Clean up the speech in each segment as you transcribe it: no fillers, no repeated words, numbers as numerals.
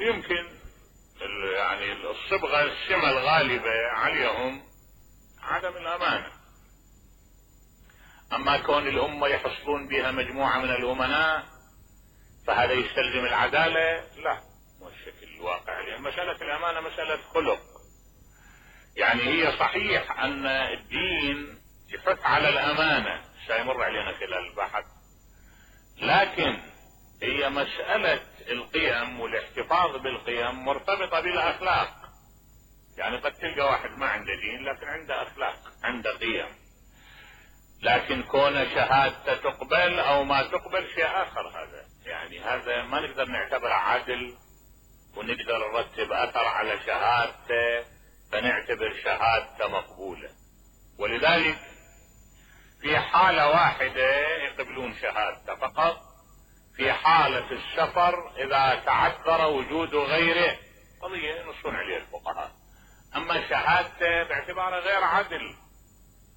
ويمكن يعني الصبغة السمة الغالبة عليهم عدم الامانة. اما كون الامة يحصلون بها مجموعة من الامناء فهذا يستلزم العدالة؟ لا، مو الشكل الواقع. لان مسألة الامانة مسألة خلق. يعني هي صحيح ان الدين يحث على الامانة، سيمر علينا خلال البحث، لكن هي مسألة القيم والاحتفاظ بالقيم مرتبطة بالاخلاق. يعني قد تلقى واحد ما عنده دين لكن عنده اخلاق، عنده قيم. لكن كون شهادته تقبل او ما تقبل شيء اخر. هذا يعني هذا ما نقدر نعتبره عدل ونقدر نرتب اثر على شهادته فنعتبر شهادته مقبولة. ولذلك في حالة واحدة يقبلون شهادته فقط، في حالة السفر اذا تعذر وجود غيره قضية ينصون عليه الفقهاء. اما شهادته باعتباره غير عدل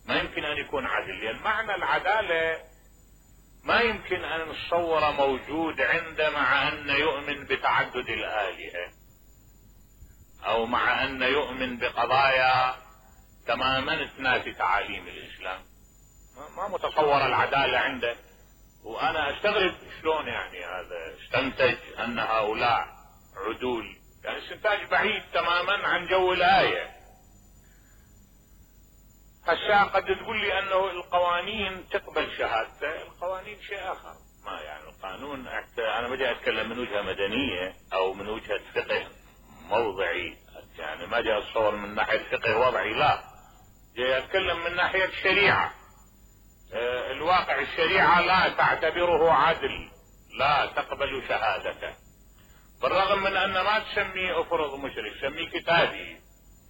ما يمكن ان يكون عدل. لان معنى العدالة ما يمكن ان نتصوره موجود عنده مع ان يؤمن بتعدد الآلهة او مع ان يؤمن بقضايا تماما تنافي تعاليم الاسلام. ما متصور العدالة عنده. وانا استغرب شلون يعني هذا استنتج ان هؤلاء عدول. يعني استنتاج بعيد تماما عن جو الآية. هسه قد تقول لي انه القوانين تقبل شهادته، القوانين شيء اخر. ما يعني القانون انا بدي اتكلم من وجهة مدنية او من وجهة فقه موضعي. يعني ما جاي اتصور من ناحية فقه وضعي، لا، جاي اتكلم من ناحية شريعة. الواقع الشريعة لا تعتبره عدل، لا تقبل شهادته، بالرغم من ان ما تسميه افرض مشرك، تسميه كتابي.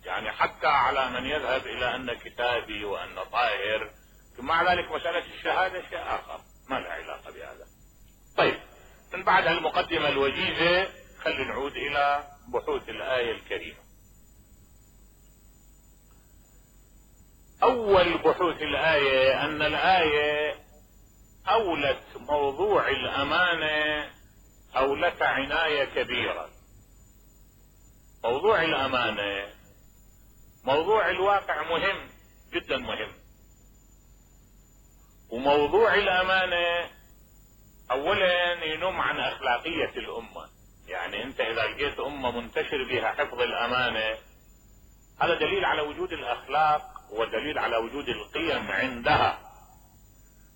يعني حتى على من يذهب الى ان كتابي وان طاهر، مع ذلك مسألة الشهادة شيء اخر ما له علاقة بهذا. طيب، من بعد المقدمة الوجيزة خلينا نعود الى بحوث الآية الكريمة. اول بحوث الآية ان الآية اولت موضوع الامانة اولت عناية كبيرة. موضوع الامانة موضوع الواقع مهم جدا مهم. وموضوع الامانة اولا ينم عن اخلاقية الامة. يعني انت اذا لقيت امة منتشر بها حفظ الامانة هذا دليل على وجود الاخلاق ودليل على وجود القيم عندها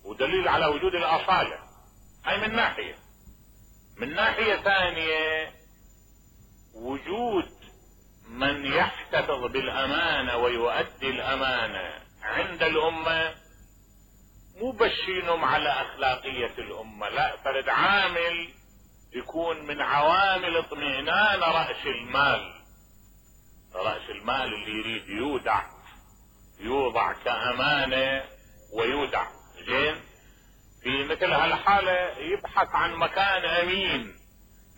ودليل على وجود الاصالة. هاي من ناحية. من ناحية ثانية وجود من يحتفظ بالامانة ويؤدي الامانة عند الامة مو بس ينم على اخلاقية الامة، لا، فرد عامل يكون من عوامل اطمئنان رأس المال. رأس المال اللي يريد يوضع كامانة ويودع. زين، في مثل هالحالة يبحث عن مكان امين.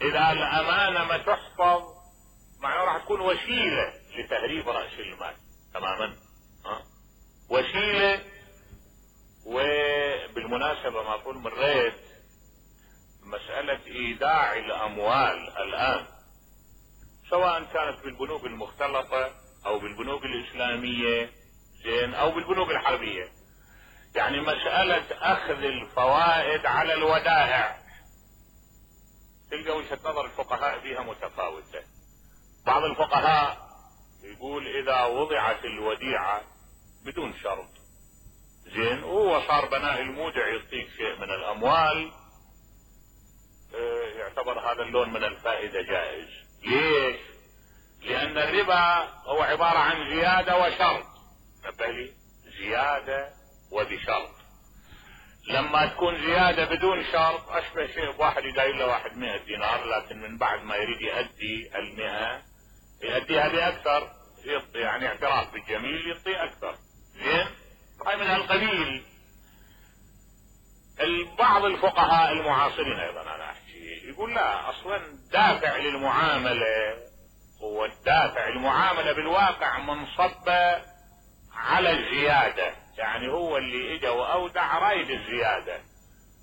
اذا الامانة ما تحفظ معناه راح تكون وسيلة لتهريب رأس المال تماما. وسيلة. وبالمناسبة ما اقول مريت مسألة ايداع الاموال الان سواء كانت بالبنوك المختلطة او بالبنوك الاسلامية، زين، او بالبنوك الحربية. يعني مسألة اخذ الفوائد على الودائع تلقى وجهة نظر الفقهاء فيها متفاوتة. بعض الفقهاء يقول اذا وضعت الوديعة بدون شرط، زين، وهو صار بناء المودع يعطيك شيء من الاموال، يعتبر هذا اللون من الفائدة جائز. ليش؟ لان الربا هو عبارة عن زيادة وشرط. نبهلي، زيادة وبشرط. لما تكون زيادة بدون شرط اشبه شيء بواحد يداير له واحد 100 دينار، لكن من بعد ما يريد يؤدي 100 يؤديها باكثر، يعني اعتراف بالجميل يعطي اكثر. زين، هاي من هالقبيل. بعض الفقهاء المعاصرين ايضا انا احكي يقول لا، اصلا دافع للمعاملة هو الدافع المعاملة بالواقع منصب على الزيادة. يعني هو اللي اجا واودع رايد الزيادة،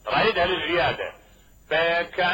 رايدها للزيادة. فكأن